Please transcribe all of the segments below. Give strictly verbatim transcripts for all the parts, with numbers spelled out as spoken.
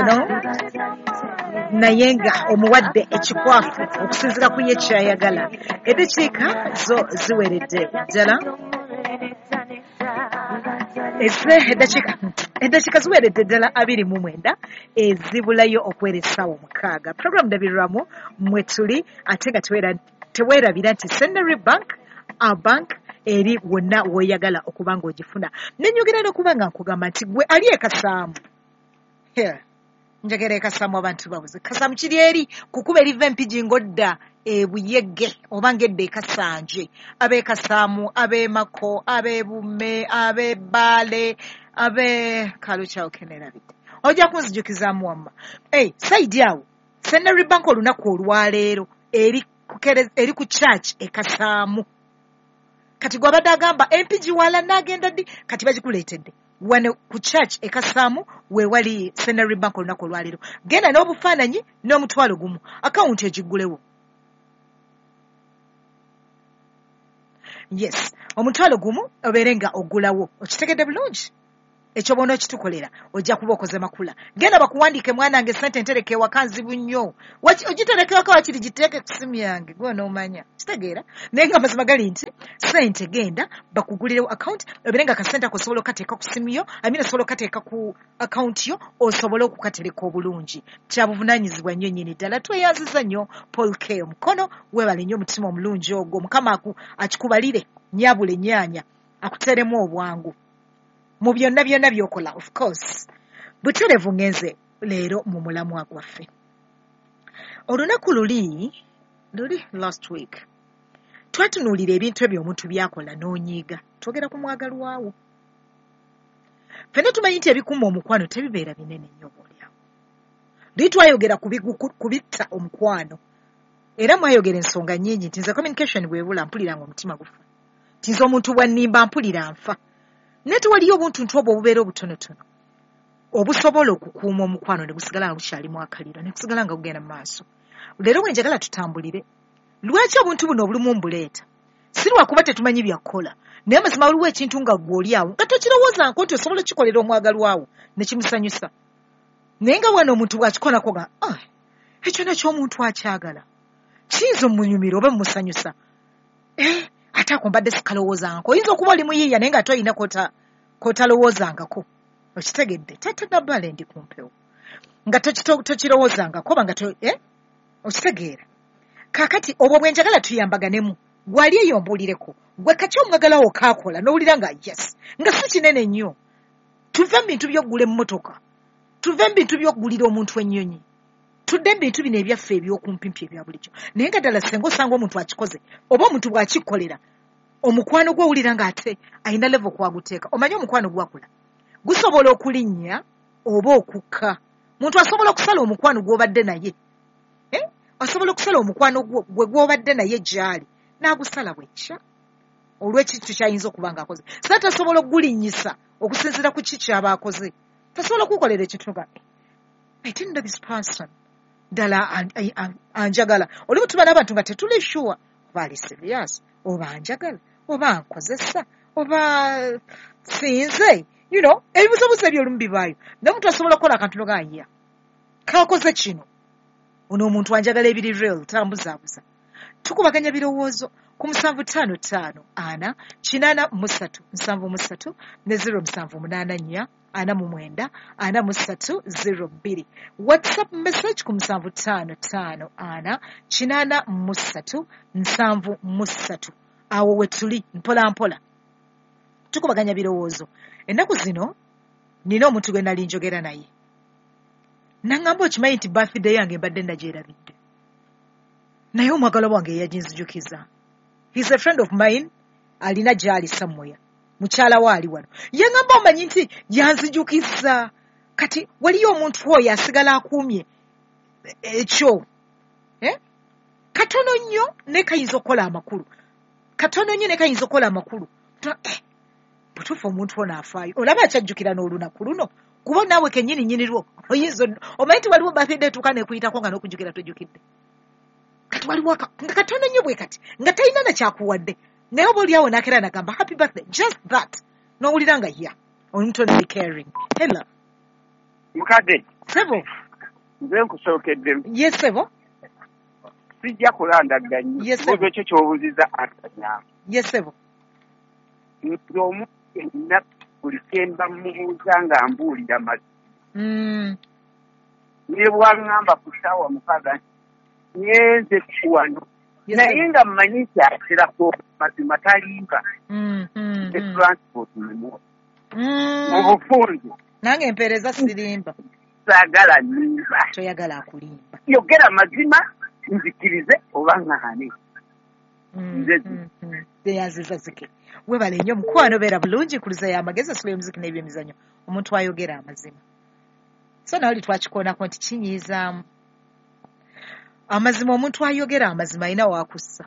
No? Naye nga omuwadde ekikwafu okusinziira ku ye kyayagala. Eddakiika zo ziweredde ddala, eddakiika eddakiika ziweredde ddala abiri mu mwenda ezibulayo okwera essaawa omukaaga. Program Ndabirwamu mwe tuli, ate nga teweerabira nti Centenary Bank, our bank, eri wonna w'oyagala okuba ng'ogifuna. Nenyogera n'okuba nga nkugamba nti gwe ali e Kasaamu, njagala e Kasaamu abantu babuze. Kasaamu kiri eri kukuba eriva Empigi ng'odda e Buyege oba ng'edda e Kasanje. Ab'e Kasaamu, ab'e Mako, ab'e Bume, ab'e Bbaale, ab'e Kalukyawo keneerabidde. Ojja kunzijukizaamu wamma. Hey, side awo Centenary Bank olunaku olwaleero eri eri ku church e Kasaamu. Kati gw'abadde agamba Empigi wala n'agenda ddi, kati bagikuleetedde wano ku church e Kasaamu we wali Centenary Bank olunaku olwaleero. Genda n'obufaananyi n'omutwalo gumu, akawunti egiggulewo. Yes, omutwalo gumu obeere nga oggulawo. Okitegedde bulungi? Ekyo bw'oba okitukolera ojja kuba okoze makula. Genda bakuwandiike, mwanange sente ntereke ewaka nzibu nnyo. Ogitereke ewaka wakiri giteeke ku simu yange gwe onoomanya. Kitegeera? Naye nga amazima gali nti sente genda bakugulirewo account obeere nga akasente ako osobola okukateeka ku simu yo, I mean osobola okukateeka ku account yo osobole okukatereka obulungi. Kya buvunaanyizibwa nnyo nnyini ddala. Tweyanziza nnyo Paul K omukono, weebale nnyo omutima omulungi ogwo. Mukama akikubalire nnyabula ennyaanya akuteeremu obwangu mu byonna byonna by'okola. Of course butereevu ngenze leero mu mulamwa gwaffe. Olunaku luli luli last week twatunuulira ebintu ebyo omuntu by'akola n'onyiiga. Twogera ku mwagalwawo. Ffenna tumanyi nti ebikuuma omukwano tebibeera binene nnyo oboolyawo. Luli twayogera ku bitta omukwano, era mwayogera ensonga nnyingi nti nze communication bw'ebula mpulira nga omutima gufa, nti nze omuntu bw'annimba mpulira nfa. Naye tewaliyo obuntuntu obwo obubeera obutonotono obusobola okukuuma omukwano ne gusigala nga gukyalimu akaliro ne gusigala nga gugenda mu maaso. Leero bwe njagala tutambulire, lwaki obuntu buno obulumu mbuleeta? Si lwakuba tetumanyi bya kukola, naye amazima waliwo ekintu nga ggwe oli awo nga tokirowoozanko nti osobola okukikolera omwagalwawo ne kimusanyusa. Naye nga wano omuntu bw'akikolako nga ah, ekyo nakyo omuntu akyagala kiyinza omunyumira oba mumusanyusa. Eh, ate ako mbadde sikalowoozangako. Oyinza okuba oli muyiiya naye nga toyina k'otalowoozangako. Okitegedde? Taata Nabbale ndi ku mpewo. Nga tokirowoozangako oba nga eh? Okitegeera? Kaakati obwo bwe njagala tuyambaganemu. Gwali eyo mbuulireko. Gwe kaki omwagalawo kaakola n'owulira nga yes, nga si kinene nnyo. Tuve mu bintu by'okugula emmotoka, tuve mu bintu by'okugulira omuntu ennyonyi, tudde mu bintu bino ebyaffe eby'okumpimpi ebya bulijjo. Naye nga ddala singa osanga omuntu akikoze oba omuntu bw'akikolera omukwano gwe owulira ng'ate alina level kwaguteeka. Omanyi omukwano gwakula gusobola okulinnya oba okukka. Muntu asobola okusala omukwano gw'obadde naye, eh? Asobola okusala omukwano gwe gw'obadde naye gy'ali n'agusala bwekya olw'ekintu ky'ayinza okuba ng'akoze. So tasobola okugulinnyisa okusinziira ku ki ky'aba akoze. Tasobola okukolera ekintu nga I didn't know this person ddala anjagala. Olimu tuba n'abantu nga tetuli sure oba ali serious oba anjagala oba nkozesa oba sinze, you know, ebibuuzobuuzo ebyo olumu bibaayo. Naye omuntu asobola okukola akantu n'ogamba ya kaakoze kino, ono omuntu anjagala ebiri real, tambuzaabuza. Tukubaganya birowoozo ku musanvu ttaano ttaano ana kinaana mu ssatu nsanvu mu ssatu ne zero musanvu munaana nnya ana mu mwenda ana mu ssatu zero bbiri. WhatsApp message ku musanvu ttaano ttaano ana kinaana mu ssatu nsanvu mu ssatu. Awo we tuli mpola mpola tukubaganya birowoozo. Ennaku zino nina omuntu gwe nali njogera naye nangamba, okimanyi nti birthday yange mbadde nagyerabidde, naye omwagalwa wange yaginzijukiza. He's a friend of mine, alina gy'ali somewhere, mukyala we ali wano. Yangamba omanyi nti yanzijukiza. Kati waliyo omuntu oyo asigala akuumye ekyo, eh? Katono nnyo naye kayinza okukola amakulu, katono nnyo naye kayinza okukola amakulu. Eh, butuufu omuntu ono afaayo, olaba akyajjukira n'olunaku luno, kuba naawe kennyini nnyini lwo oyinza omanyi nti waliwo birthday etuuka n'ekuyitako nga n'okujjukira tojjukidde. Kati waliwo nga katono nnyo bwe kati nga talina na kyakuwadde, naye oba oli awo n'akeera n'agamba happy birthday, just that, n'owulira nga ya omuntu ono ali caring. Hello mukadde. Sebo. Nze nkusookedde. Ye sebo. Sijja kulandagga nnyo. Ye sebo. Ekyo ky'obuuzizza atanya. Ye sebo. Nze omuntu yenna buli kye mba mmubuuza nga mbuulira mazima. Mm. Ne bw'aŋŋamba ku ssaawa mukaaga nti ngenze wano. Naye nga mmanyi nti aterako mazima talimba. Mm, mm, Ne mm. transport mumu. Mm. Mu bufunze. Nange mpeereza sirimba. Saagala nnimba. Toyagala akulimba. Yogera mazima nzikirize oba ŋŋaane. Mm, Nze mm, mm. Neyanziza zike. Weebale nnyo mukwano, beera bulungi, kuluza y'amagezi, osula emuziki n'ebyemizannyo. Omuntu ayogera amazima. So nawe oli twakikoonako nti kinyiizaamu. Amazima, omuntu ayogera amazima alina waakussa.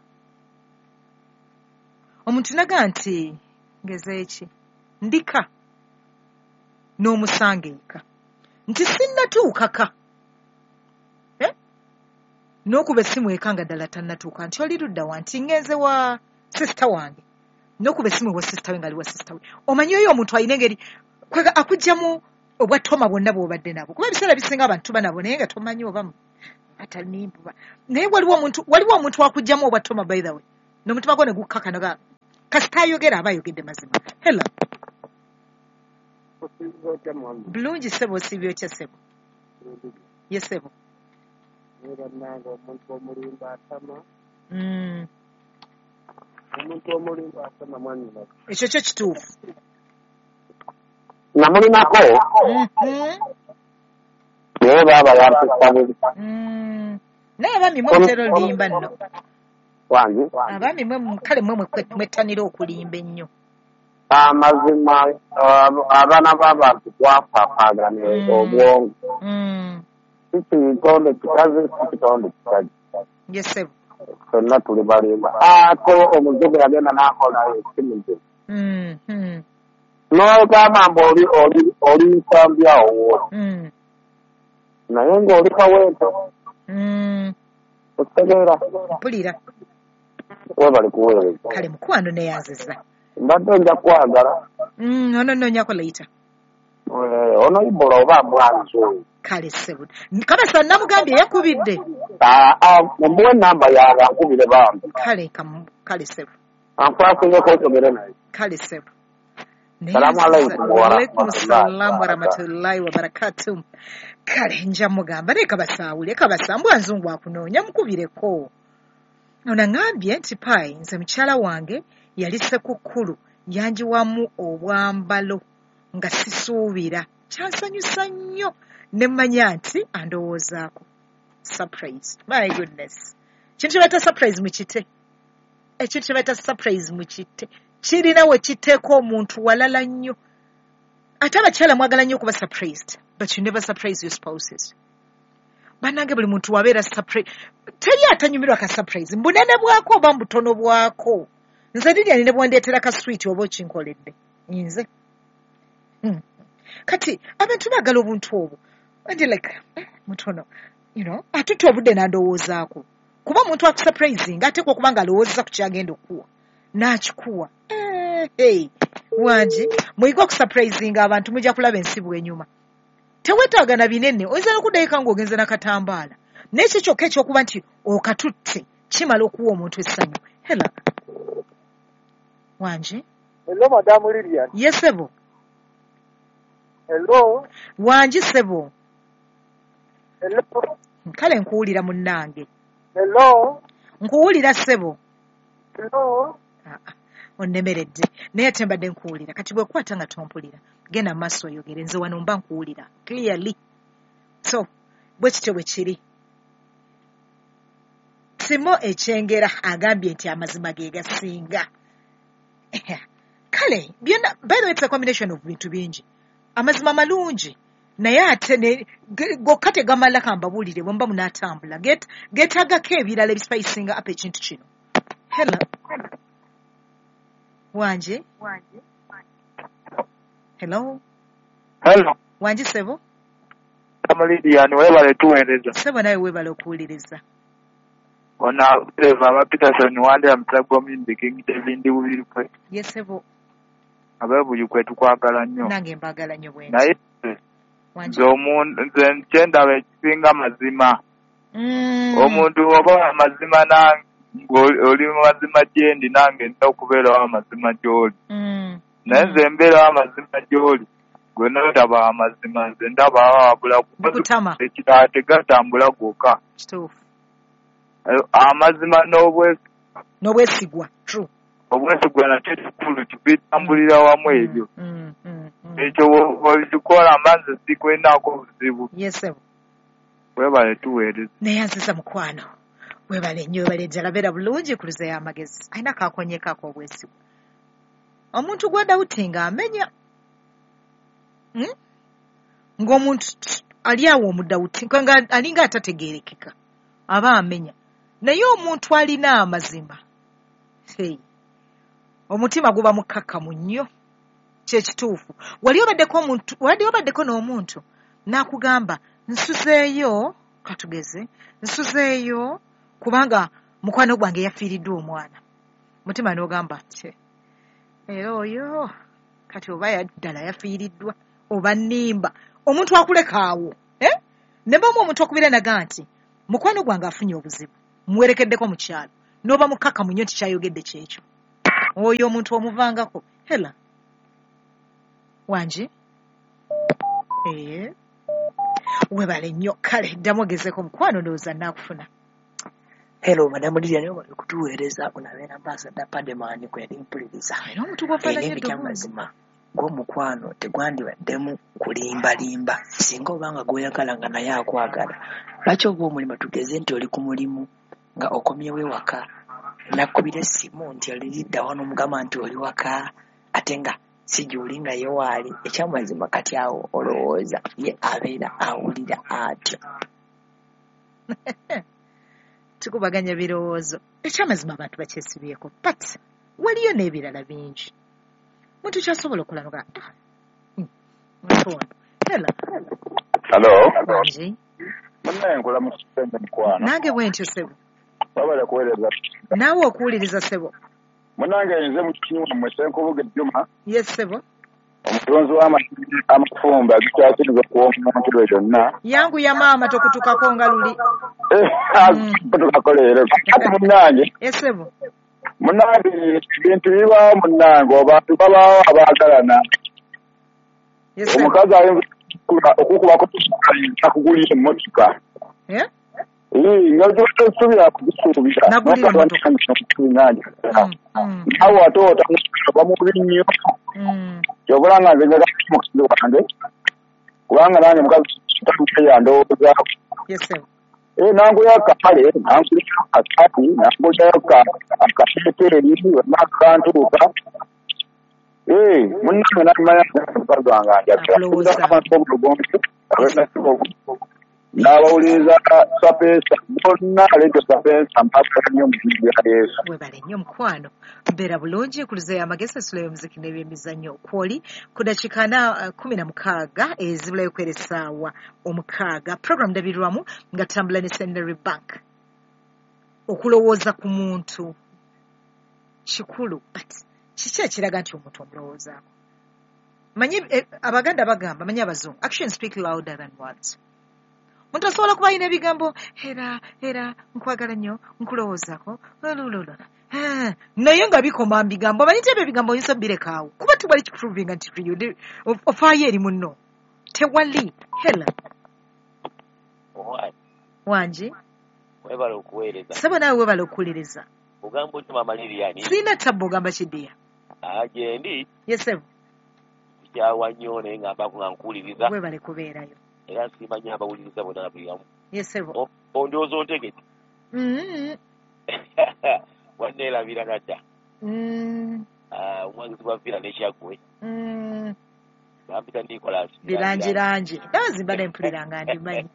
Omuntu naga nti ngeze eki ndika n'omusanga eka nti sinnatuukaka eh? N'okuba essimu eka nga ddala tannatuuka nti oli ludda wa nti ngenze wa sisita wange n'okuba essimu ewa sisita we ng'ali wa sisita we. Omanyi oyo omuntu alina engeri kwega akuggyamu obwatoma bwonna bw'obadde nabwo, kuba ebiseera bisinga abantu tuba nabo naye nga tomanyi oba atalimba. Naye waliwo omuntu, waliwo omuntu akuggyamu obwatoma, by the way, n'omutima gwo ne gukkakana ga kasita ayogera aba ayogedde mazima. Hello. Bulungi ssebo, osiibye otya ssebo? Ye ssebo. Bannange omuntu omulimba atama. Mm. Omuntu omulimba atama mwannyina. Ekyo kyo kituufu. Namulinako. Mhm. Naye baaba yampisa bubi. Mm. Naye abaami mwe mutera olimba nno. Wange. Abaami mwe kale mwe mwettanira okulimba ennyo. Amazima abaana b'abantu twafaafaagana obwongo. Mm. Si kitonde kikazi, si kitonde kisajja. Ye ssebo. Ffenna tuli balimba. Ate omuzungu yagenda n'akola essimu gye. Mm, mm. N'ogamba mbu oli oli oli nsambi awo w'oli. Mm. Naye ng'oli Kawempe. Mm. Okitegeera? Mpulira. Weebale kuweereza. Kale mukwano neyanziza. Mbadde nja kwagala. Mm, ono nnoonyako later. Ono Ibola oba mbwanzi oyo. Kale ssebo. Kabasa namugambye yakubidde. Ah, ah, mumuwe ennamba yange ankubire bambi. Kale kale ssebo. Ankwasizeko okyogere naye. Kale ssebo. Salaamu alaykum wa Waalaikum salaam wa rahmatullahi rahmatullahi wa barakatuh. Kale nja mugamba naye kabasaawule kabasa mbwa nzungu akunoonya mukubireko. Ono aŋŋambye nti pai nze mukyala wange yali Ssekukkulu yanjiwamu obwambalo nga sisuubira. Kyansanyusa nnyo ne mmanya nti andowoozaako. Surprise. My goodness. Kintu kye bayita surprise mukite. Ekintu kye bayita surprise mukite. Kirina we kiteeka omuntu walala nnyo. Ate abakyala mwagala nnyo okuba surprised, but you never surprise your spouses. Bannange buli muntu wabeera surprise. Teri atanyumirwa ka surprise. Mbunene bwako oba mbutono bwako. Nze Lilian ne bw'ondeetera ka sweet oba okinkoledde. Nze. Hmm. Kati abantu baagala obuntu obwo. And you're like, eh, mutono, you know, atutte obudde n'andowoozaako. Kuba omuntu akusurprising ateekwa okuba ng'alowoozeza ku ky'agenda okuwa. N'akikuwa. Eh, hey, wangi, muyige okusurprisinga abantu mujja kulaba ensi bw'enyuma. Teweetaaga na binene, oyinza n'okuddayo eka ng'ogenze n'akatambaala. Naye ekyo kyokka eky'okuba nti okatutte kimala okuwa omuntu essanyu. Hello. Wangi. Hello, Madam Lilian. Ye ssebo. Hello. Wangi ssebo. Hello. Kale nkuwulira munnange. Hello. Nkuwulira ssebo. Hello. Ah, ah, onnemeredde naye ate mbadde nkuwulira. Kati bw'okwata nga tompulira genda mu maaso oyogere, nze wano mba nkuwulira clearly. So bwe kityo bwe kiri. Simo Ekyengera agambye nti amazima ge gasinga. Kale byonna, by the way, it's a combination of bintu bingi. Amazima malungi naye ate ne gokka tegamala, kambabuulire bwe muba munaatambula geetaagako ebirala ebispicinga up ekintu kino. Hello. Wangi. Hello. Hello. Wangi ssebo. Madam Lilian, weebale tuweereza. Ssebo nawe weebale okuwuliriza. Ono Eva aba Peterson Wandera Mutagwa Muyimbi King David Bubirikwe. Ye ssebo. Ab'e Buikwe tukwagala nnyo. Nange mbaagala nnyo bwe nti. Naye Nze omuntu nze kyendaba ekisinga mazima. Mm. Omuntu oba amazima nange oli mazima gyendi nange nina okubeerawo amazima gy'oli. Mm. Naye nze mbeerawo amazima gy'oli gwe nondaba amazima nze ndaba wabula Bikutama. Ekirala tegatambula gwokka. Kituufu. Amazima n'obwesigwa. N'obwesigwa, true. Obwesigwa nakyo kikulu bitambulira wamu ebyo. Mm, mm, mm. Ekyo bw'obikola mba nze sikwinaako buzibu. Yes, sir. Webale tuweereza. Neyanziza mukwano. Webale nnyo, webale ddala, beera bulungi ku luze y'amagezi. Alina kaakonyeko ak'obwesigwa. Omuntu gw'adawutinga amenya. Hmm? Ng'omuntu ali awo omudawuti, nga alinga atategeerekeka. Aba amenya. Naye omuntu alina amazima. Hey. Omutima guba mukkakkamu nnyo. Kye kituufu. Wali obaddeko omuntu, wali obaddeko n'omuntu n'akugamba nsuzeeyo, katugeze, nsuzeeyo kubanga mukwano gwange yafiiriddwa omwana. Mutima n'ogamba kye. Era oyo kati oba ddala yafiiriddwa oba nnimba. Omuntu akuleka awo. Eh? Ne bamu omuntu okubira naga nti mukwano gwange afunye obuzibu. Muwerekeddeko mu kyalo. N'oba mukkakkamu nnyo nti kyayogedde kyekyo. Oyo omuntu omuvangako. Hela. Wangi? Eh. Webale nnyo. Kale ddamu ogezeeko mukwano ndowooza nnaakufuna. Hello, Madam Lilian, webale kutuweereza onabeera Ambassador Pademani kwe yali mpuliriza. Era omuntu gw'ofaananya Era eddoboozi. ekyamazima gw'omukwano tegwandibaddemu kulimbalimba. Singa obanga gw'oyagala nga naye akwagala. Lwaki oba omulimu tugeze nti oli ku mulimu nga okomyewo ewaka nakubira essimu nti oliridda wano omugamba nti oli waka ate nga si gy'oli nga ye waali. Ekyamazima kati awo olowooza ye abeera awulira atya. Tukubaganya birowoozo. Ekyamazima abantu bakyesibyeko. But waliyo n'ebirala bingi. Muntu kyasobola okukola n'ogamba, ah, hmm, muntu ono. Hela. Hello. Wangi. Munnaye nkola mu kisenge mukwano. Nange bwe ntyo ssebo. Wabale kuweereza. Naawe okuwuliriza ssebo. Munnange nze mu kinywa mmwe Ssenkubuge Juma. Yes ssebo. Omutunzi w'amagi amafumbe agikyakiriza okuwoma omuntu yonna. Yangu ya maama tokutukako nga luli. Eh, kutukako leero. Kati munnange. Yes ssebo. Munnange ebintu bibaawo munnange abantu babaawo abaagalana. Yes ssebo. Omukazi ayinza okukubako akugulira emmotoka. Eh? Eh, nga tosuubira kugisuubira. Nagulira emmotoka. Awo ate oba mubi nnyo. Ky'obola nga nze njagala mukazi wange kubanga nange mukazi yandowoozaako. Yes ssebo. Eh, nangulayo akapale, nangulayo akasaati, nangulayo akateeteeyi, akantuuka. Eh, munnange namanya mukazi wange anjagala. Abantu b'obulugonzi, n'abawuliriza Sapeesa bonna leetyo Sapeesa mpaka nnyo mu bintu bya Yesu. Webale nnyo mukwano. Mbeera bulungi ku luzeeyo amagezi essula y'omuziki n'ebyemizannyo kwoli ku dakiika na kumi na mukaaga ezibulayo kwera essaawa omukaaga. Program ndabirwamu nga tutambula ne Centenary Bank. Okulowooza ku muntu kikulu, but kiki ekiraga nti omuntu omulowoozaako? Manyi eh, Abaganda bagamba, manyi Abazungu, actions speak louder than words. Omuntu asobola kuba alina ebigambo era era nkwagala nnyo nkulowoozaako lulululu naye nga bikoma mu bigambo. Omanyi nti ebyo ebigambo oyinza obbireka awo kuba tewali kikuprovinga nti ofaayo eri munno. Tewali. Hela. Wangi. Webale okuweereza. Ssebo naawe webale okuwuliriza. Ogamba otya Maama Lilian? Sirina tabbu ogamba kiddiya. Ah, gyendi. Yes ssebo. Nkukyawa nnyo naye nga mbaako nga nkuwuliriza. Webale kubeerayo. Era nsiima nnyo abawuliriza bonna buli wamu. Yes ssebo. Ondowooza ontegedde? Mm. Wanneerabira nadda. Mm. Ah, omwagizi wa Villa ne Kyaggwe. Mm. Bampita Nicholas. Birangirangi. Ndowooza mbadde mpulira nga ndimanyi.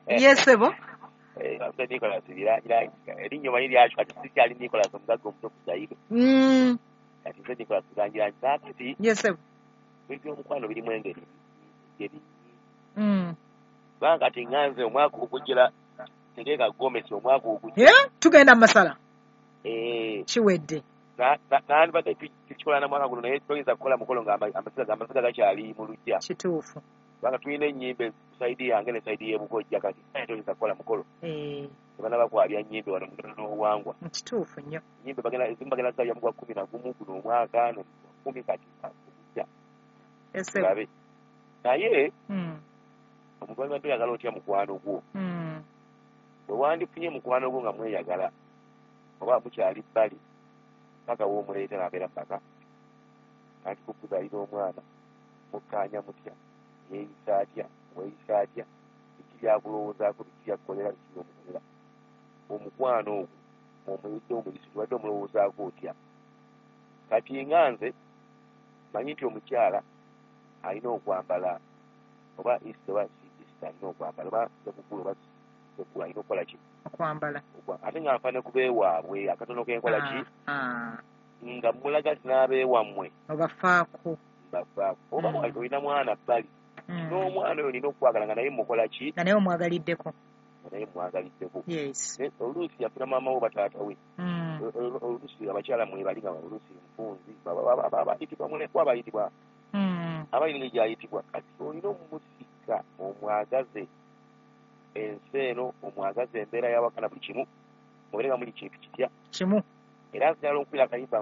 Yes ssebo. Eh, bampita Nicholas Birangirangi. Erinnya omanyi lyakyuka kati sikyali Nicholas omugagga omuto ku Zaire. Mm. Kati nze Nicholas Birangirangi. Kaakati. Yes ssebo. Ebintu by'omukwano birimu engeri. Engeri. Mm. Kubanga kati nga nze omwaka ogujjira tegeeka gomesi omwaka ogujja. Eh, tugenda mu masala. Eh. Kiwedde. Na- na- nandibadde tu- tukikola na mwaka guno, naye toyinza kukola mukolo nga ama- amasiga amasiga gakyali mu luggya, Kituufu. Kubanga tulina ennyimbe ku sayidi yange ne sayidi y'ebukojja. Kati naye toyinza kukola mukolo Eh, tebanaba kwabya nnyimbe wano mu n'obuwangwa. Kituufu nnyo. Ennyimbe bagenda, ezimu bagenda zabya mu gwa kumi na gumu guno omwaka, no kumi kati gujja. Ese. Tulabe. Naye Mm. omuntu wandibadde oyagala otya mukwano gwo? Mm. Bwe wandifunye mukwano gwo nga mweyagala oba mukyali bbali, paka w'omuleeta n'abeera mu maka, anti kukuzaalira omwana, mukkaanya mutya? Yeeyisa atya? Weeyisa atya? Biki byakulowoozaako? Biki byakukolera? Biki byomukolera? Omukwano ogwo omuyidde omuyisi, tubadde omulowoozaako otya? Kati nga nze manyi nti omukyala alina okwambala oba Easter oba si Easter, alina okwambala oba sekukulu oba sekukulu, alina okukola ki? Okwambala. Okwa- ate nga nfa ne kubeewaabwe akatono kenkola ki, Ah, ah. nga mulaga nti n'abeewammwe Obafaako. Mbafaako. Oba Mm. olina mwana bbali, Mm. n'omwana oyo nina okwagala nga naye mukola ki? Nga naye omwagaliddeko. Nga naye mwagaliddeko. Yes. Ne- oluusi yafuna maama we oba taata we. Mm. O- o- oluusi abakyala mwebali nga oluusi nfunzi bayitibwa mulekwa, bayitibwa Mm. abalina engeri gyayitibwa. Kati olina omumusika, omwagaze ensi eno, omwagaze embeera y'awaka na buli kimu, mubeere nga muli kintu kitya. Kimu. Era nsigala okubira akayimba.